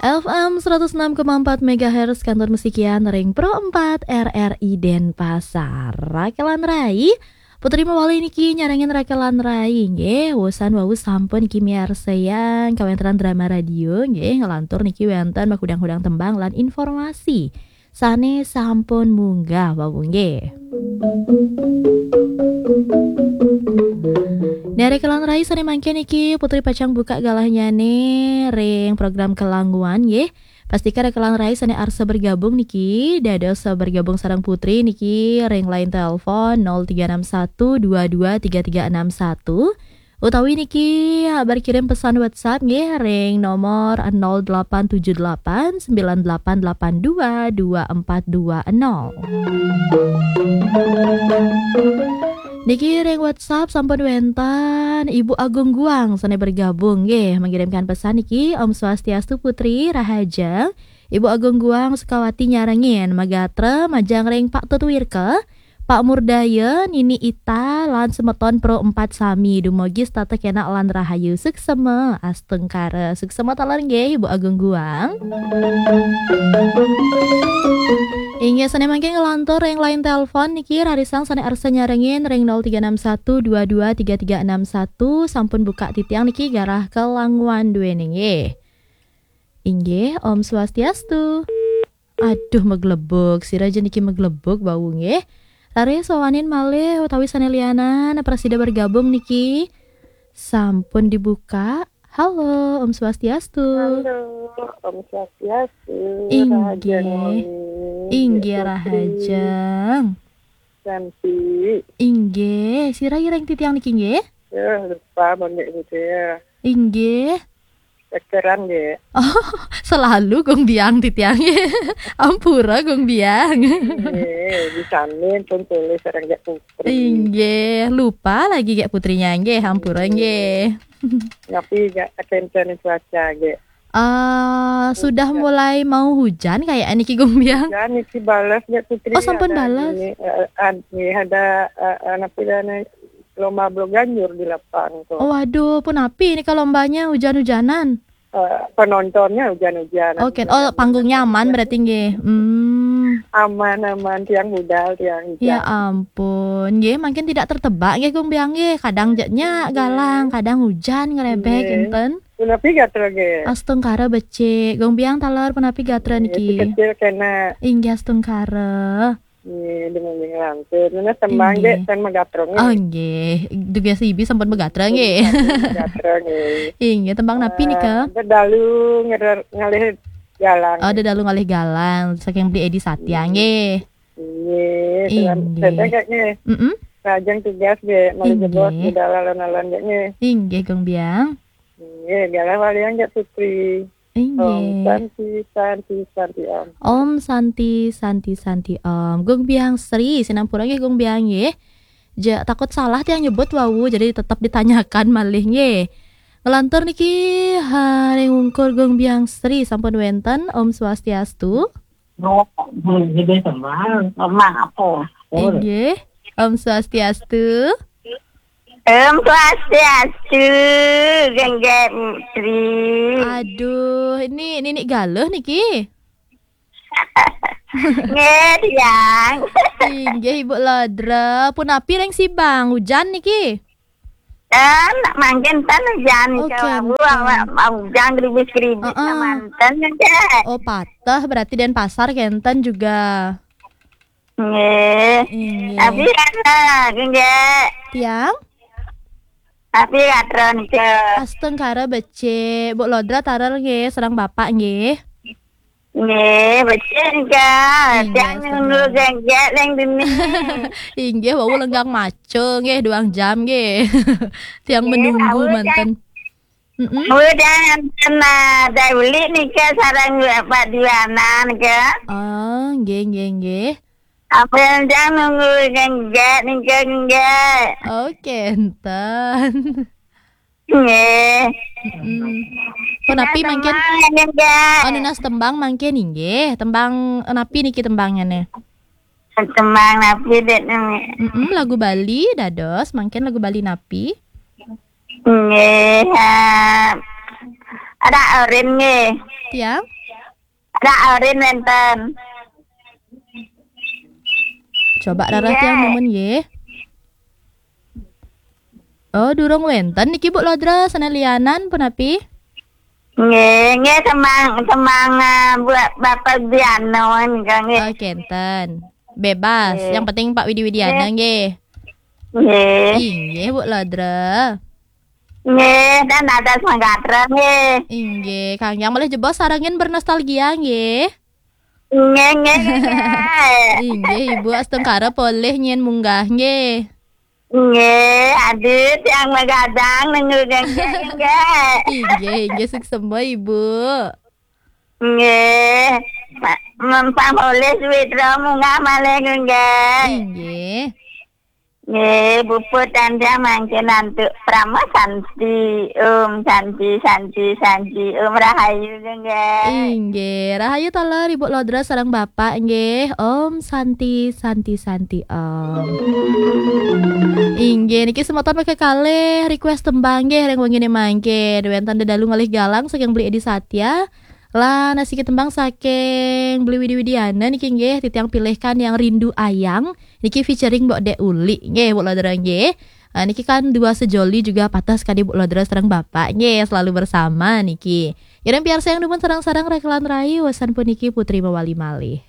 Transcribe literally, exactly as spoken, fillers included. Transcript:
F M seratus enam koma empat megahertz, kantor musikian ring Pro empat R R I Denpasar. Rakelan Rai, Putri mawali niki nyarengin Rakelan Rai, nggih. Wusan wau sampun niki miarsayang kawentenan drama radio, nggih, ngelantur niki wenten makudang-kudang tembang lan informasi sane sampun munggah wau, nggih. Nere Rakelan Rai, sane mangkin niki Putri pacang buka galahnyane ring program Kelanguan, nggih. Pastika Rakelan Rai sane arsa bergabung niki, dados bergabung sareng Putri niki ring line telepon nol tiga enam satu dua dua tiga tiga enam satu, utawi niki berkirim pesan WhatsApp nggih ring nomor nol delapan tujuh delapan sembilan delapan delapan dua dua empat dua nol. Niki ring WhatsApp sampun wenten Ibu Agung Guang sane bergabung nggih, mengirimkan pesan niki, "Om Swastiastu Putri, rahajeng." Ibu Agung Guang Sukawati nyarengin, magatra majeng ring Pak Tutwirka, Pak Murdaya, Nini Ita, lan semeton Pro empat sami. Dumugi setata kenak lan rahayu. Suksema, astungkara. Suksema taler nggih, Ibu Agung Guang. Inggih, sane mangkin ngelantur ring line telepon niki, rarisang sane arsa nyarengin ring nol tiga enam satu dua dua tiga tiga enam satu, sampun buka titiang niki, galah Kelanguan duene nggih. Inggih, Om Swastiastu. Aduh, maglebug. Sira ja niki maglebug wau nggih. Raris wawanin malih utawi sane lianan, prasida bergabung niki. Sampun dibuka. Halo, Om Swastiastu. Halo, Om Swastiastu. Inggih. Rahajeng wengi, Inggih, Mbak Putri. Rahajeng. Cantik. Inggih, sira ireng titiang niki nggih? Ya, lupa bondek gitu ya. Inggih. Cekeran nggih. Oh, selalu Gung Biang titiang nggih. Ampura Gung Biang. Nggih, di sana pun tulis orang Gek Putri. Inggih, lupa lagi Gek Putrinya nggih, ampura nggih. Tapi gak kenten cuaca nggih. Eh, sudah mulai mau hujan kayak niki Gung Biang. Hujan niki balas Gek Putri. Oh, sampun ada balas. Ini, eh, ad-, ini ada, eh, eh, apa namanya, lomba bloganjur di lapang tuh. Oh, waduh, punapi ini kalau lombanya hujan-hujanan? Eh, penontonnya hujan-hujan. Oke, oh, panggungnya aman berarti nggih. Hmm. Aman, aman, tiang budal, tiang hujan. Ya ampun, nggih, mungkin tidak tertebak nggih Gung Biang nggih. Kadang jeknya galang, kadang hujan ngerebek, nggih. Enten. Punapi gatra nggih. Astungkara becik. Gung Biang taler punapi gatra nggih, niki. Si kecil kena. Inggih, astungkara. Nggih, dumugi nglantur. Nunas tembang, inggih. Dek, tan magatra nggih. Oh, nggih. Dugas ibi sampun magatra nggih. Magatra nggih. Inggih, tembang napi nika? Ah, dedalu ngerer-, ngalih galang. Oh, dedalu ngalih galang saking Beli Edi Satya nggih. Nggih, inggih. Selam-, selam, Kak, nggih. Mm-mm. Rahajeng tugas nggih, malih jebos, inggih. Budal alon-alon nggih. Inggih, Gung Biang. Nggih, galah walian Gek Putri. Inggih. Om Santi, Santi, Santi, Om. Om Santi, Santi, Santi, Om. Gung Biang Sri, sinampura nggih Gung Biang nggih. Ja, takut salah tiang nyebut wau, jadi tetap ditanyakan malih nggih. Ngelantur niki, ha, ring ungkur Gung Biang Sri sampun wenten. Om Swastiastu. Lemah apa? Inggih. Om Swastiastu. Om Swastiastu, Geng Gek Putri. Aduh, ini Nini Galuh niki. Nggih, tiang. Inggih, Ibu Lodra. Punapi ring Sibang, hujan niki? Ten, mangkin ten hujan. Oh, niki, kenten. Wau, wau, wau, hujan gerimis-gerimis, heeh, manten, nggih. Oh, pateh berarti Denpasar kenten juga. Nggih. Inggih. Tapi kan, nggih. Tiang? Tapi katron ke. Astungkara becik, Bu Lodra taler nggih, sareng Bapak nggih. Nggih, becik nggih. Inggih, tiang astungkara. Nunggu Geng Gek ning dini. Inggih, wau lenggang maca nggih, duang jam nggih. Tiang nggih, menunggu manten. Mm-mm. Wau tiang enten, ah, dai uli nika sareng Bapak Diwana nika. Oh, nggih, nggih, nggih. Apa yang jang nunggu Geng Gek nika nggih. Oke, enten. Nggih. Mm-mm. Punapi mangkin? Tembang, nggih. Oh, nunas tembang mangkin inggih. Tembang napi niki tembangnya nih? Tembang napi, Dek, nami? Mm-mm, lagu Bali, dados. Mangkin lagu Bali napi? Nggih, ha. Ada Orin nggih. Tiang? Rak orin wénten. Coba rarah tiang numun nggih. Oh, durung wénten niki, Bu Lodra, sané lianan punapi? Nggih, nggih, semang, semang, eh, buat Bapak Diano nika nggih. Oh, kenten. Bebas. Nggih. Yang penting Pak Widi Widiana nggih. Nggih. Inggih, Bu Lodra. Nggih, dan ada semangat nggih. Inggih, Kang Yang malih jebos sarengin bernostalgia nggih. Nggih, nggih, nggih. Inggih, Ibu astungkara polih nyén munggah nggih. Nggih, adit yang magadang nunggu nggih, nggih. Inggih, inggih, suksema Ibu. Nggih. Ma-, mempang polih Suwitra munggah malih nggih. Inggih. Nggih, puput tandang mangkin antuk Prama Santi. Om Santi, Santi, Santi. Om Rahayu nggih. Inggih, Rahayu taler Ibu Lodra sareng Bapak nggih. Om Santi, Santi, Santi Om. Inggih, niki semeton mekakalih request tembang nggih ring wengine mangkin. Wénten dedalu ngalih galang saking Beli Edi Satya. Lan asiki tembang saking Beli Widi Widiana niki nggih, titiang pilihkan yang Rindu Ayang. Niki featuring Mbok Dek Uli nggih, Bu Lodra nggih. Ah, niki kan dua sejoli juga patah sekali Bu Lodra sareng Bapak nggih, selalu bersama niki. Ngiring piarsa yang numun sareng-sareng rekelan rai, wesan puniki Putri mawali malih.